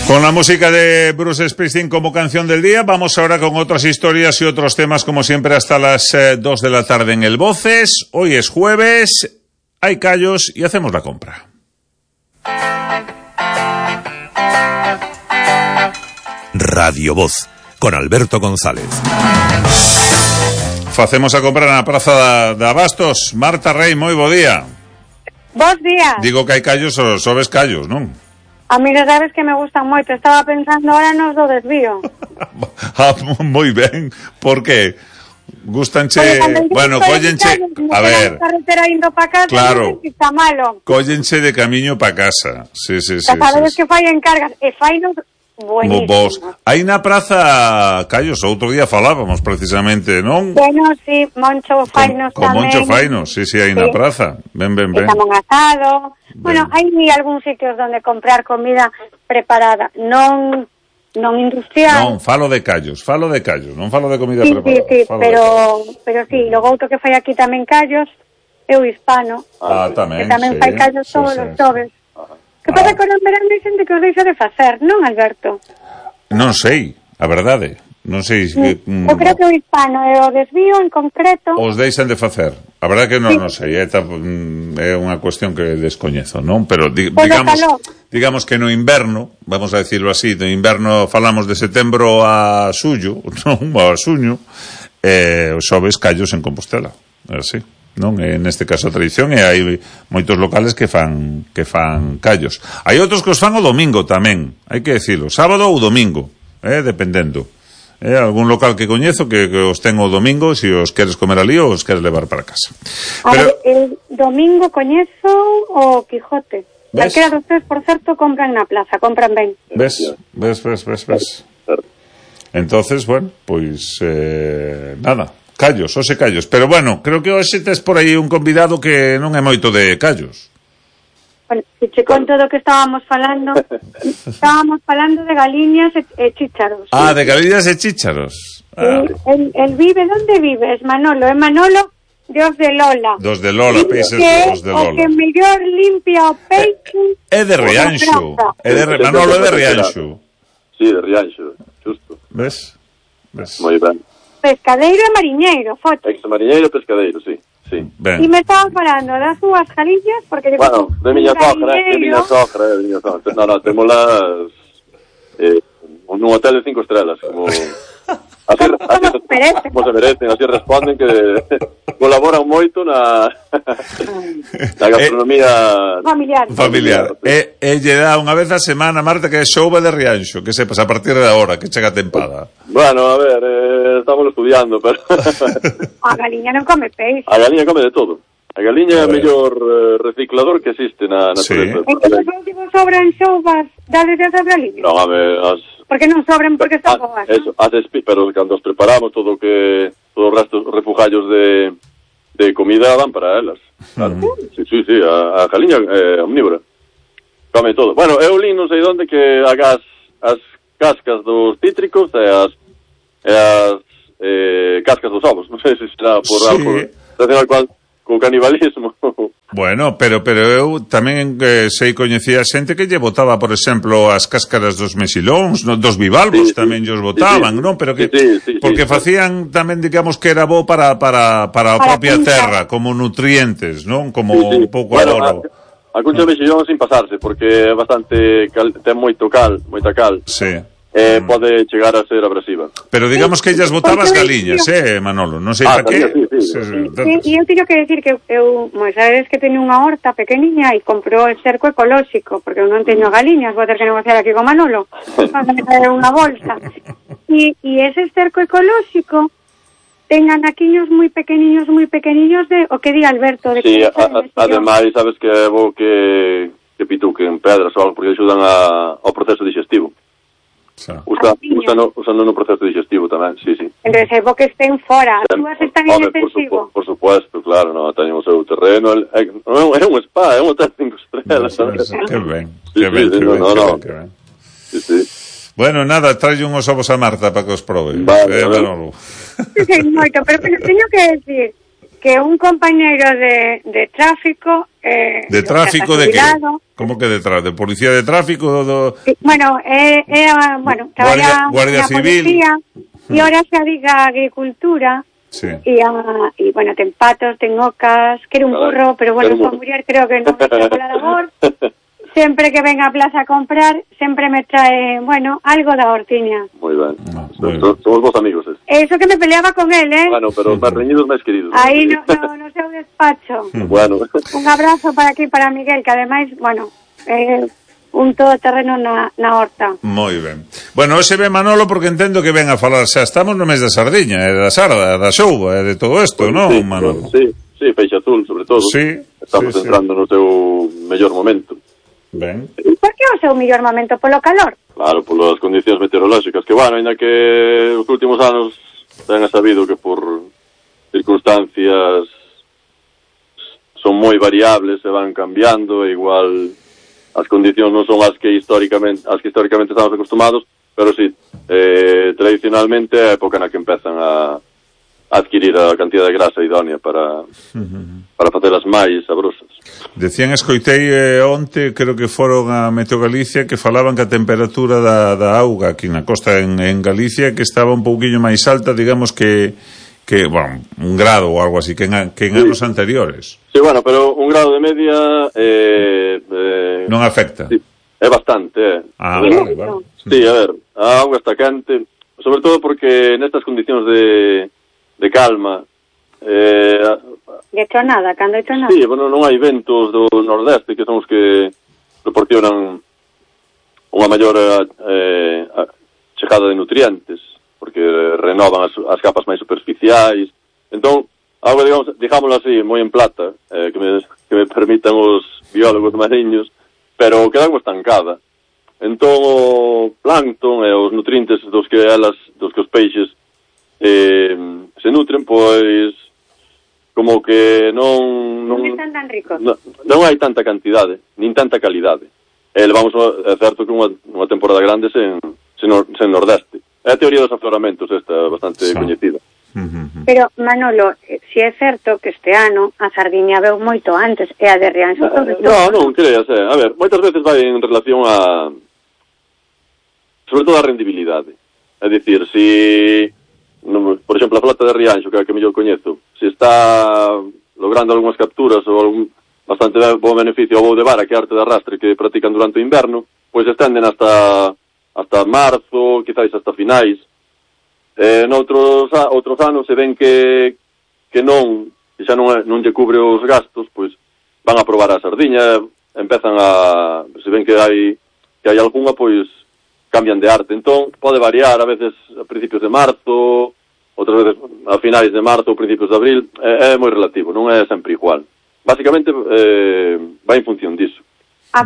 Con la música de Bruce Springsteen como canción del día, vamos ahora con otras historias y otros temas, como siempre, hasta las 2 de la tarde en el Voces. Hoy es jueves, hay callos y hacemos la compra. Radio Voz, con Alberto González. Facemos a comprar na Praza de Abastos. Marta Rey, moi bo día. Bos días. Digo que hai callos, só ves callos, non? A mí non sabes que me gustan moito. Estaba pensando ahora nos do desvío. Moi ben. Por que? Gustanche... Bueno, cóllenche... A ver... carretera indo pa casa, claro. Está malo. Cóllenche de camiño pa casa. Sí. Sabes que fai encargas. E fai nos... Buenísimo. Vos. Aí na Praza Callos, outro día falábamos precisamente, non? Bueno, sí, Moncho Fainos con tamén. Moncho Fainos, sí, aí na praza. Ben. Estamos asado. Bueno, hai algúns sitios donde comprar comida preparada, non industrial. Non, falo de callos, non falo de comida preparada. Sí, pero sí, logo outro que fai aquí tamén callos é o Hispano. Tamén, que tamén fai callos todos os xoves. Que pasa que non verán de xente que os deixa de facer, non, Alberto? Non sei, a verdade. Non sei... Eu creo que o Hispano e o Desvío en concreto... Os deixan de facer. A verdade que non sei, é unha cuestión que descoñezo, non? Pero digamos que no inverno, vamos a decirlo así, no inverno falamos de setembro a xullo, non? A xuño, os xoves callos en Compostela, é así. Non, neste caso a tradición, e hai moitos locales que fan callos. Hai outros que os fan o domingo tamén, hai que decirlo, sábado ou domingo, dependendo. Algún local que coñezo que os ten o domingo, se os queres comer ali ou os queres levar para casa. Pero el domingo coñezo o Quijote. Calquera dos tres, por certo, compran na plaza, compran ben. Ves. Entonces, bueno, pois nada. Callos, hoxe callos. Pero bueno, creo que hoxe tes por aí un convidado que non é moito de callos. Bueno, se che conto do que estábamos falando de galiñas e chícharos. De galiñas e chícharos. El vive, onde vives, Manolo? É Manolo de Os de Lola. Dos de Lola, peixes dos de Lola. O que mellor limpia o peixe... É de Rianxo. Manolo é de Rianxo. Sí, de Rianxo, justo. Ves? Moi ben. Pescadeiro e mariñeiro, foto. Ex-mariñeiro e pescadeiro, sí. E me estaban falando das súas galiñas, porque... Bueno, de miña sogra. No, temolas nun hotel de 5 estrelas, como... Como se merecen, así responden que colaboran moito na gastronomía familiar. E lle dá unha vez a semana, Marta, que é xouba de Rianxo, que sepas a partir de agora, que chega a tempada. Bueno, a ver, estamos estudiando, pero... A galiña non come peixe. A galiña come de todo. A galiña é o mellor reciclador que existe na natureza. Entón, os últimos sobran xoubas, dades esas galiñas? Non, a ver, porque non sobren, porque están boas. Eso, pero cando os preparamos todos os restos refugallos de comida van para elas. Claro. Sí, a galiña é omnívora. Come todo. Bueno, eu li non sei onde que as cascas dos cítricos e as cascas dos ovos. Non sei se será por algo relacionado co canibalismo. Bueno, pero eu tamén sei coñecía xente que lle botaba, por exemplo, as cáscaras dos mexilóns, dos bivalvos, tamén lles botaban, non? Pero que porque facían tamén, digamos, que era bo para a propia terra, como nutrientes, non? Como un pouco adoro. A cuncha de mexillón sin pasarse, porque é bastante ten moita cal. Sí. Pode chegar a ser abrasiva. Pero digamos que ellas botabas galiñas, Manolo, non sei para que. E eu teño que decir que eu, sabes que teño unha horta pequeniña e comprou el cerco ecolóxico, porque eu non teño galiñas, vou ter que negociar aquí con Manolo para me traer unha bolsa. E ese cerco ecolóxico ten anaquiños moi pequeniños de o que di Alberto de que ademais sabes que é bo que pituquen pedras ou algo, porque axudan ao proceso digestivo. Usando no proceso digestivo tamén, sí. Entón, é bo que estén fora, as túas están en extensivo. Por supuesto, claro, teñen o seu terreno, é un spa, é un hotel 5 estrelas. Que ben. Sí. Bueno, nada, trae unhos ovos a Marta para que os probe. Vale. Moito, pero teño que decir que un compañeiro de tráfico... de tráfico de que? Como que de tráfico? De policía de tráfico? Sí, bueno, traballa Guardia Civil. Policía, e ahora se dedica a agricultura. Sí. Y bueno, ten patos, ten ocas, quere un burro, pero bueno, esta muller creo que non me trae la labor. Sempre que ven a plaza a comprar, sempre me trae, bueno, algo da hortiña. Moi ben. Somos vos amigos, Eso que me peleaba con él, Bueno, pero máis reñidos, máis queridos. Aí no seu despacho. Bueno. Un abrazo para aquí, para Miguel, que ademais, bueno, un todoterreno na horta. Moi ben. Bueno, hoxe ven Manolo porque entendo que ven a falar, xa estamos no mes da sardiña, da sarda, da xouba, de todo isto, pues, non, Manolo? Sí, peixe azul, sobre todo. Sí. Estamos entrando no seu mellor momento. Ben. E por que o seu mellor momento? Polo calor? Claro, polas condicións meteorolóxicas, que, bueno, ainda que os últimos anos ten sabido que por circunstancias son moi variables, se van cambiando, e igual as condicións non son as que históricamente estamos acostumados, pero sí, tradicionalmente é a época na que empezan a adquirir a cantidad de grasa idónea para facelas máis sabrosas. Decían, escoitei onte, creo que foron a Meteo Galicia, que falaban que a temperatura da auga aquí na costa en Galicia que estaba un pouquiño máis alta, digamos que bueno, 1 grado ou algo así que en anos anteriores. Sí, bueno, pero 1 grado de media non afecta. Sí, é bastante, Vale. Sí, a ver, a auga está quente, sobre todo porque nestas condicións de calma, de tronada, cando hai tronada. Sí, bueno, non hai ventos do nordeste que son os que proporcionan unha maior chegada de nutrientes, porque renovan as capas máis superficiais. Entón, algo, digámoslo así, moi en plata, que me permitan os biólogos mariños, pero queda algo estancada. Entón, o plancton e os nutrientes dos que os peixes se nutren, pois como que non están tan ricos. Non hai tanta cantidade, nin tanta calidade. Levamos, é certo que unha temporada grande sen nordeste. É a teoría dos afloramentos, esta bastante coñecida. Pero, Manolo, si é certo que este ano a sardiña veu moito antes, e a de Rianxo sobre todo. Non creas, a ver, moitas veces vai en relación a sobre todo a rendibilidade. É dicir, por exemplo, a flota de Rianxo, que é a que mellor coñezo, se está logrando algunhas capturas ou algún bastante bo beneficio ao voo de vara, que é arte de arrastre que practican durante o inverno, pois estenden hasta marzo, quizáis hasta finais. Noutros anos se ven que non, e xa non lle cubre os gastos, pois van a probar a sardiña, empezan se ven que hai algunha, pois cambian de arte. Entón, pode variar, a veces a principios de marzo, outras veces a finais de marzo ou principios de abril, é moi relativo, non é sempre igual. Básicamente, vai en función disso.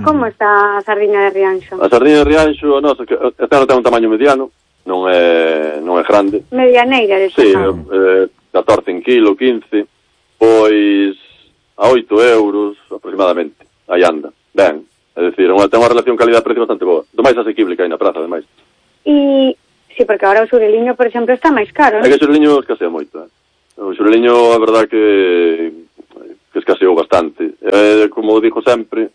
Como está a sardiña de Rianxo? A sardiña de Rianxo, nosa, este ano ten un tamaño mediano, non é grande. Medianeira, de sí, 14 en kilo, 15, pois a 8 euros aproximadamente, aí anda. Ben, é dicir, ten unha relación calidad-precio bastante boa, do máis asequible que hai na praza, ademais. E, sí, porque agora o xureliño, por exemplo, está máis caro, non? É que o xureliño escasea moito, O xureliño, a verdad que escaseou bastante. Como digo sempre,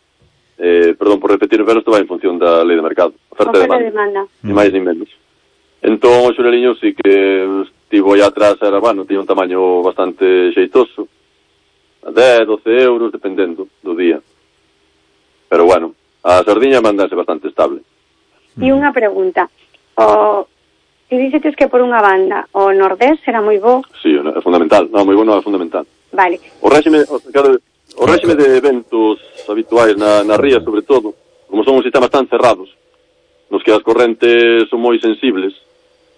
perdón por repetir, pero isto vai en función da lei de mercado. Oferta e demanda. Ni máis ni menos. Entón, o xureliño sí que estivo aí atrás, tiña un tamaño bastante xeitoso, a 10, 12 euros, dependendo do día. Pero bueno, a sardiña mandase bastante estable. E unha pregunta, si dixetes que por unha banda o nordés será moi bo? Sí, é fundamental, moi bo non é fundamental. Vale. O réxime de eventos habituais na ría, sobre todo, como son os sistemas tan cerrados, nos que as correntes son moi sensibles,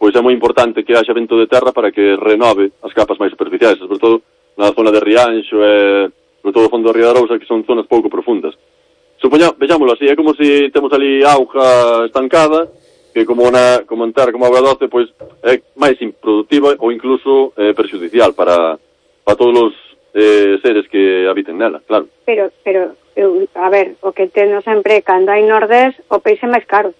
pois é moi importante que haxa vento de terra para que renove as capas máis superficiais, sobre todo na zona de Rianxo e sobre todo o fondo da Ría da Arousa, que son zonas pouco profundas. Vexámoslo así, é como se temos ali auga estancada, que como auga doce, pois é máis improductiva ou incluso perxudicial para todos os seres que habiten nela, claro. Pero a ver, o que teno sempre, cando hai nordés, o peixe máis caro.